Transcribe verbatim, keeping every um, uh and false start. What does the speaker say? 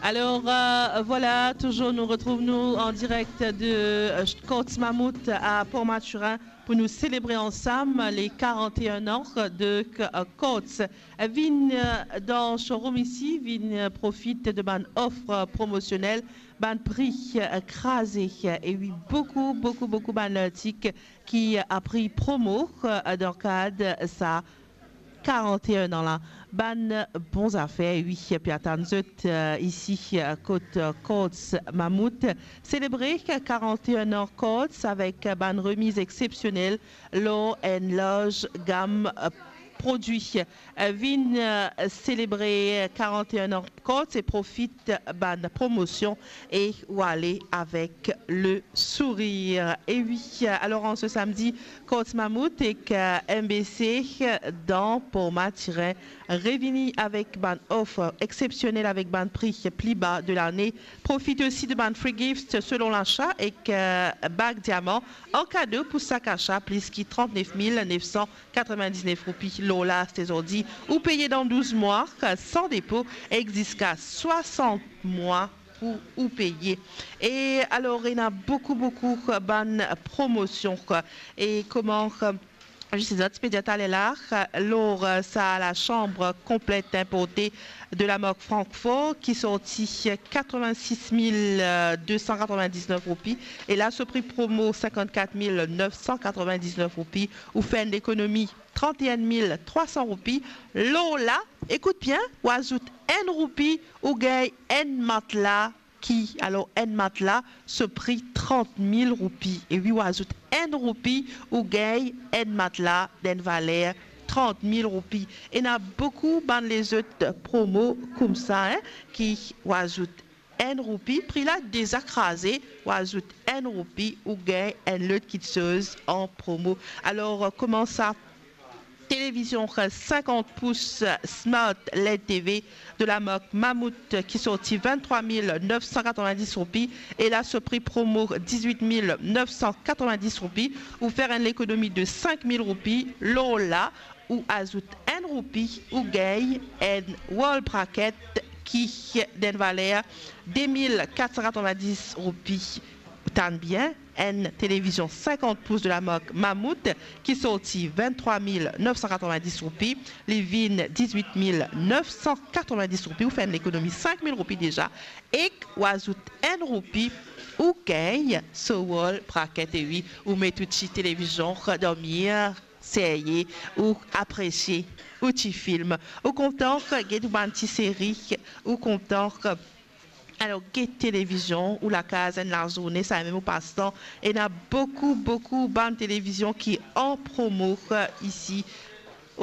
Alors, euh, voilà, toujours nous retrouvons-nous en direct de euh, Courts Mammouth à Port-Mathurin pour nous célébrer ensemble les quarante et un ans de euh, Courts. Vinn euh, dan showroom isi, vinn euh, profit de bann ofre promosionel, bann pri euh, kraze, e wi, boukou, boukou, boukou bann lartik ki a pri promo euh, dan kad sa quarante et un an la. Bann bon zafer, wi, pe atann zot euh, isi euh, kot euh, Courts Mammouth. Selebre quarante et un an Courts avek bann remiz exsepsionel lor enn larz gam euh, prodwi. Euh, vinn euh, selebre quarante et un an Courts e profit bann promosion e ou ale avek le sourir. E wi, alor an se samdi, Courts Mammouth ek euh, M B C dan Port-Mathurin revini avek bann ofre exsepsionel avek bann pri pli ba de lane. Profit osi de bann free gifts selon lasa ek euh, bag diaman an kado pou sak asa plis ki trant-nef mil nef san katrevin-diz-nef roupi lor la, se zordi. Ou peye dan douz mwa san depo ek ziska swasant mwa pou ou peye. E alor, ena boukou, boukou bann promosion. E kouma, zis enn ti pe dir taler la, lor sa lasanm konplet inporte de la mark Francfort ki sorti katrevin-sis mil de san katrevin-diz-nef roupi, e la so pri promo sinkant-kat mil nef san katrevin-diz-nef roupi, ou fer enn lekonomi trant-e-enn mil trwa san roupi. Lor la, ekout bien, ou azout enn roupi, ou gagn enn matla ki, alor, enn matla so pri trant mil roupi. E wi, ou azout enn roupi, ou gagn enn matla dan enn valer trant mil roupi. Ena boukou bann lezot promo koumsa, hein, ki ou azout enn roupi, pri la deza kraze, ou azout enn roupi, ou gagn enn lot kitsoz an promo. Alor, kouma sa, televizion sinkant pous Smart L E D T V de la mark Mammouth ki sorti vinn-trwa mil nef san katrevin-diz roupi e la so pri promo dizwit mil nef san katrevin-diz roupi, ou fer enn lekonomi de sink mil roupi. Lor la, ou azout enn roupi, ou gagn enn wall bracket ki dan enn valer de mil kat san katrevin-diz roupi. Tann bien, enn televizion sinkant pous de la mark Mammouth ki sorti vinn-trwa mil nef san katrevin-diz roupi, li vinn dizwit mil nef san katrevin-diz roupi, ou fer enn lekonomi sink mil roupi deza, ek ou azout enn roupi, ou gagn so wall bracket. E wi, ou met ou ti televizion dan mir, serye, ou apresie ou ti film, ou kontan get ou bann ti seri, ou kontan, alor, get televizion ou lakaz enn lazourne, samem ou pastan. Ena boukou, boukou bann televizion ki an promo isi